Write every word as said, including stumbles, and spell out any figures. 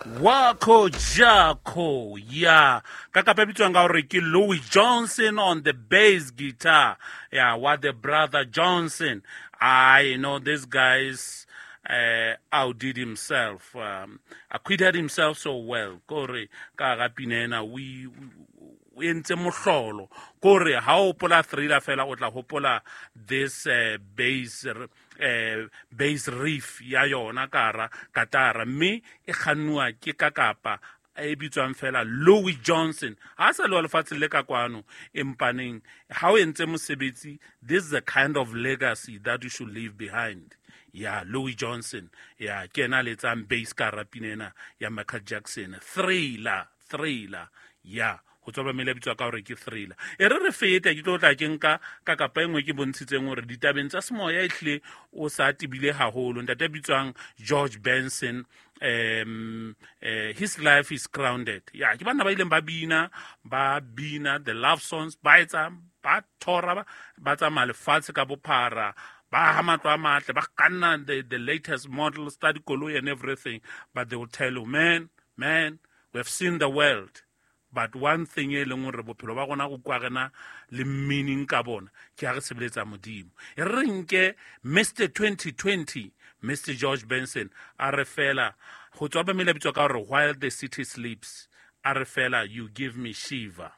Wako Jako, yeah. Ka kapa e bitswang ka hore ke Louis Johnson on the bass guitar. Yeah, what the brother Johnson. I know this guy's uh, outdid himself, um, acquitted himself so well. Kore ka ga pina ena o i- o entse mohlolo. Kore ha o hopola Thriller fela o tla hopola this uh, bass uh, bass riff ya yona ka hara katara, mme e kgannuwa ke kakapa e bitswang fela Louis Johnson. Ha sa le wa lefatshe le ka kwano, empaneng ha o entse mosebetsi, this is the kind of legacy that you should leave behind. Ya Louis Johnson, ya ke ena a letsang bass ka hara pina ena ya Michael Jackson, Thriller. Thriller, ya ho tswa ba mele bitswa ka hore ke Thriller. E re re fete, ke tlo tla ke nka ka kapa e nngwe ke bontshitseng hore ditabeng tsa semoya ehlile o sa tebile haholo. Ntate a bitswang George Benson, um uh, his life is grounded. Ya ke banna ba ileng ba bina, ba bina the love songs, ba etsa, ba thora, ba, ba tsamaya lefatshe ka bophara, ba aha matlo a matle, ba kganna the, the latest models tsa dikoloi and everything, but they will tell you, man, man, we have seen the world, but one thing e leng hore bophelo ba rona go kwa rena le meaning ka bona ke ha re sebeletsa Modimo. E re nke Mister twenty twenty, Mister George Benson, a re fela ho tswa ba mele bitswa ka hore While the City Sleeps, a re fela you give me shiver.